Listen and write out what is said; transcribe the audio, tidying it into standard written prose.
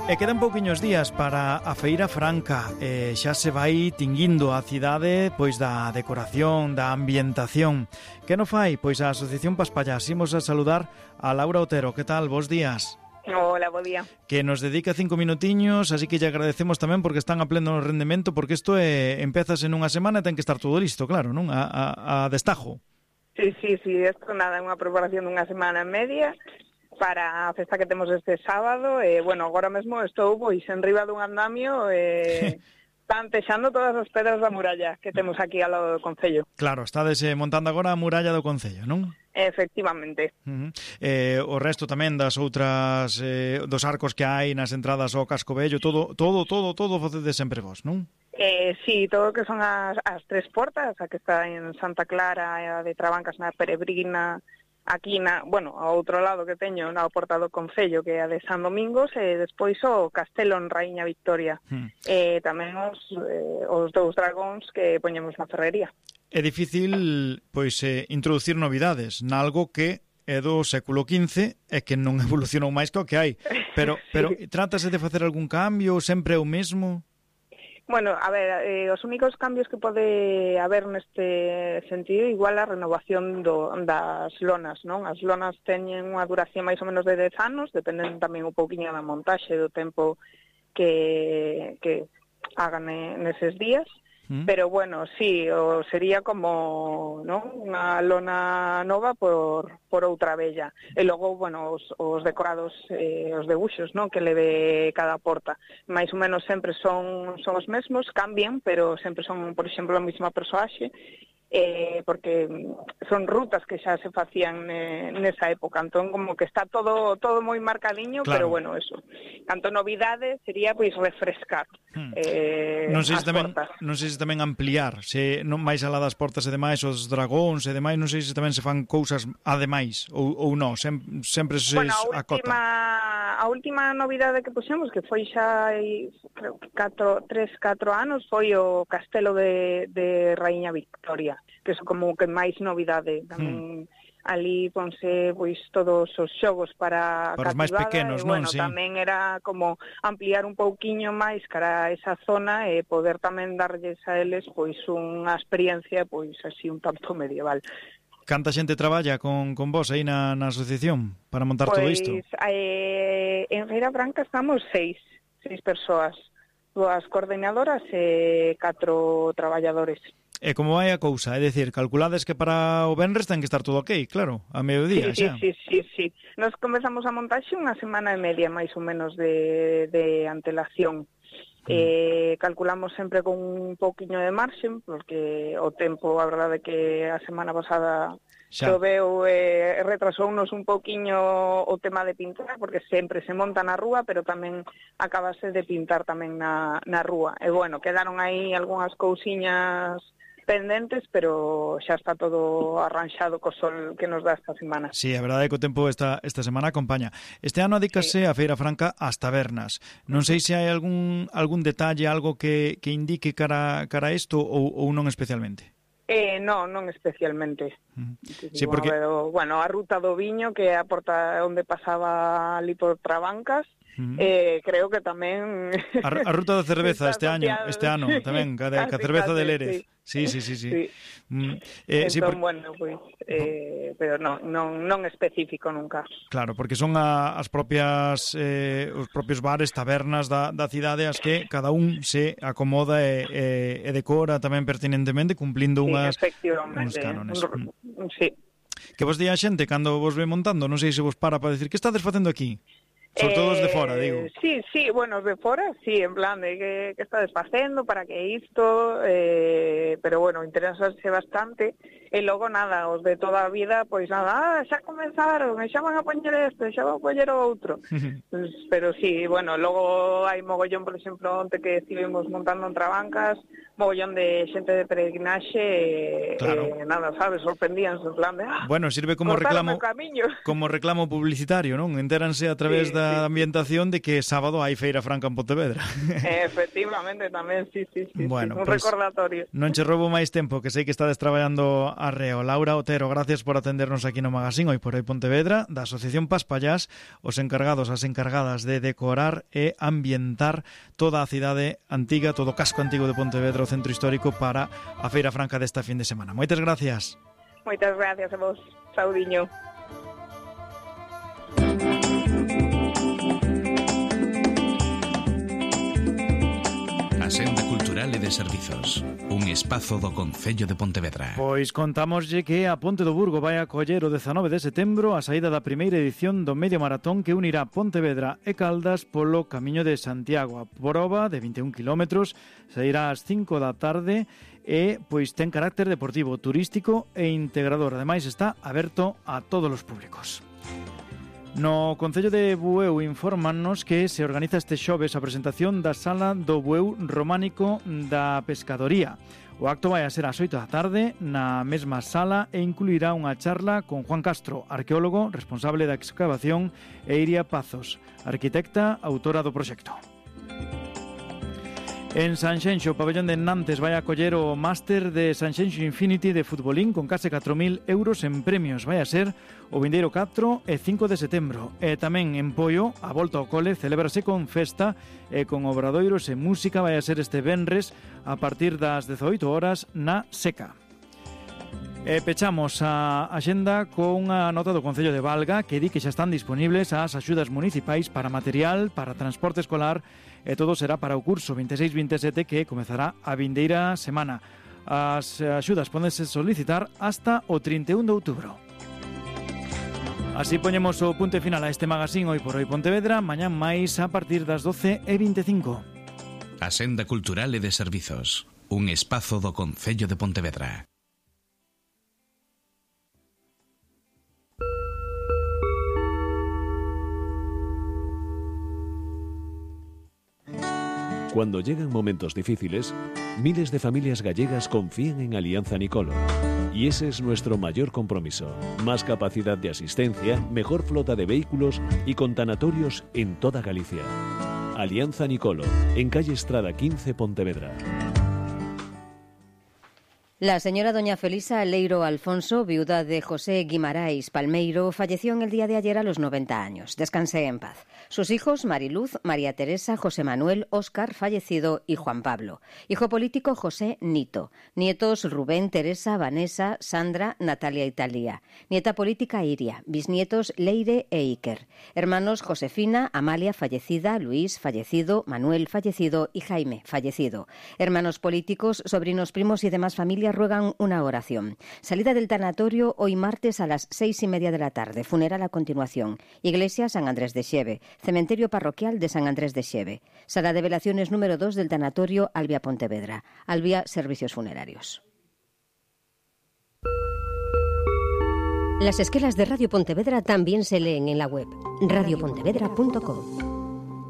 E quedan pouquiños días para a Feira Franca. Xa se vai tinguindo a cidade pois da decoración, da ambientación. Que non fai? Pois a Asociación Paspallás. Imos a saludar a Laura Otero. Que tal? Bos días. Hola, bo día. Que nos dedica 5 minutiños, así que lle agradecemos tamén porque están a pleno rendemento, porque isto empezas en unha semana e ten que estar todo listo, claro, non? A destajo. Sí, isto nada, é unha preparación dunha semana e media para a festa que temos este sábado. Bueno, agora mesmo estou pois en riba dun andamio pantexando todas as pedras da muralla que temos aquí ao lado do Concello. Claro, estades montando agora a muralla do Concello, non? Efectivamente. O resto tamén das outras dos arcos que hai nas entradas ao Casco Vello, todo facedes sempre vos, non? Sí, todo o que son as tres portas, a que está en Santa Clara, a de Trabancas na Peregrina, aquí ao outro lado que teño na porta do Concello, que é a de San Domingos, e despois o Castelo en Raíña Victoria. Tamén os dous dragóns que poñemos na ferrería. É difícil, pois, introducir novidades nalgo que é do século XV e que non evolucionou máis que o que hai. Pero trátase de facer algún cambio, sempre é o mesmo? Bueno, a ver, os únicos cambios que pode haber neste sentido, igual a renovación das lonas, non? As lonas teñen unha duración máis ou menos de 10 anos, dependen tamén un pouquiño da montaxe, do tempo que hagan neses días. Pero bueno, sí, sería como, ¿no?, unha lona nova por outra bella. E logo, bueno, os decorados, os debuxos, ¿no?, que leve cada porta. Mais ou menos sempre son os mesmos, cambian, pero sempre son, por exemplo, a mesma persoaxe, porque son rutas que xa se facían nesa época, entón como que está todo moi marcadiño, claro. Pero bueno, eso. Canto novidade sería pois refrescar non sei se tamén ampliar, se non máis alá das portas e demais, os dragóns e demais, non sei se tamén se fan cousas ademais ou non, sempre se acota. A última novidade que puxemos, que foi xa creo que 3-4 anos, foi o Castelo de Raíña Victoria, que é como que máis novidade. Tamén ali ponse pois todos os xogos para os máis pequenos, non? Bueno, sí. Tamén era como ampliar un pouquiño máis cara a esa zona e poder tamén darlles a eles pois unha experiencia pois así un tanto medieval. Canta xente traballa con vos aí na asociación para montar todo isto? Pois en Feira Franca estamos 6 persoas, 2 coordinadoras e 4 traballadores. E como vai a cousa? É dicir, calculades que para o venres ten que estar todo ok, claro, a mediodía xa. Sí. Nos comezamos a montaxe unha semana e media máis ou menos de antelación. Calculamos sempre con un pouquiño de marxen, porque o tempo, a verdade que a semana pasada choveu e retrasounos un pouquiño o tema de pintar, porque sempre se monta na rúa, pero tamén acabase de pintar tamén na rúa. E bueno, quedaron aí algunhas cousiñas pendentes, pero xa está todo arranxado co sol que nos dá esta semana. Sí, a verdade é que o tempo esta semana acompaña. Este ano adícase a Feira Franca ás tabernas. Non sei se hai algún detalle, algo que indique cara a isto ou non especialmente. Non especialmente. Sí, porque bueno, a ruta do viño, que é a porta onde pasaba ali por Trabancas, creo que tamén a ruta da cerveza este ano tamén, ca cerveza de Lérez. Sí. Entón, bueno, pois pero non específico nunca. Claro, porque son as propias os propios bares, tabernas da cidade as que cada un se acomoda e decora tamén pertinentemente cumplindo uns cánones. Sí. Que vos di a xente cando vos ve montando, non sei se vos para decir que estades facendo aquí? Sobre todo os de fora, digo. Sí, bueno, os de fora, sí, en plan de que estades facendo, para que isto, pero bueno, interesase bastante, e logo nada, os de toda a vida, pois nada, xa comenzaron, xa van a poñer este, xa van a poñer o outro. Pero sí, bueno, logo hai mogollón, por exemplo, onte que estivemos montando en Trabancas, mogollón de xente de peregrinaxe, claro. Nada, sabes, sorprendíanse, en plan de... Bueno, sirve como reclamo publicitario, non? Entéranse a través da ambientación de que sábado hai Feira Franca en Pontevedra. Efectivamente, tamén, sí. Bueno, un recordatorio. Non che roubo máis tempo, que sei que estades traballando arreo. Laura Otero, gracias por atendernos aquí no Magazín Hoy por Hoy Pontevedra, da Asociación Paspallás, os encargados, as encargadas de decorar e ambientar toda a cidade antiga, todo o casco antigo de Pontevedra, o centro histórico, para a Feira Franca desta fin de semana. Moitas gracias. Moitas gracias a vos. Saudiño. A Senda Cultural e de Servizos, un espazo do Concello de Pontevedra. Pois contámoslle que a Ponte do Burgo vai acoller o 19 de setembro a saída da primeira edición do medio maratón que unirá Pontevedra e Caldas polo Camiño de Santiago. A proba de 21 km sairá ás 5 da tarde e pois ten carácter deportivo, turístico e integrador. Ademais está aberto a todos os públicos. No Concello de Bueu infórmanos que se organiza este xoves a presentación da Sala do Bueu Románico da Pescadoría. O acto vai a ser ás 8 da tarde na mesma sala e incluirá unha charla con Juan Castro, arqueólogo responsable da excavación, e Iria Pazos, arquitecta autora do proxecto. En Sanxenxo, o pabellón de Nantes vai acoller o máster de Sanxenxo Infinity de futbolín con case 4.000 euros en premios. Vai a ser o vindeiro 4 e 5 de setembro. E tamén en Poio, a volta ao cole celébrase con festa e con obradoiros e música. Vai a ser este venres a partir das 18 horas na Seca. E pechamos a axenda con unha nota do Concello de Valga que di que xa están disponibles as axudas municipais para material, para transporte escolar, e todo será para o curso 26-27 que comezará a vindeira semana. As axudas pódense solicitar hasta o 31 de outubro. Así poñemos o punto final a este Magazín Hoy por Hoy Pontevedra. Mañán máis a partir das 12:25. A Senda Cultural e de Servizos, un espazo do Concello de Pontevedra. Cuando llegan momentos difíciles, miles de familias gallegas confían en Alianza Nicolo. Y ese es nuestro mayor compromiso. Más capacidad de asistencia, mejor flota de vehículos y con tanatorios en toda Galicia. Alianza Nicolo, en calle Estrada 15, Pontevedra. La señora doña Felisa Leiro Alfonso, viuda de José Guimarães Palmeiro, falleció en el día de ayer a los 90 años. Descanse en paz. Sus hijos, Mariluz, María Teresa, José Manuel, Óscar, fallecido, y Juan Pablo. Hijo político, José Nito. Nietos, Rubén, Teresa, Vanessa, Sandra, Natalia y Talía. Nieta política, Iria. Bisnietos, Leire e Iker. Hermanos, Josefina, Amalia, fallecida, Luis, fallecido, Manuel, fallecido y Jaime, fallecido. Hermanos políticos, sobrinos, primos y demás familias ruegan una oración. Salida del tanatorio hoy martes a las 6:30 de la tarde. Funeral a continuación. Iglesia San Andrés de Xeve. Cementerio parroquial de San Andrés de Xeve. Sala de velaciones número 2 del tanatorio Albia Pontevedra. Albia Servicios Funerarios. Las esquelas de Radio Pontevedra también se leen en la web radiopontevedra.com.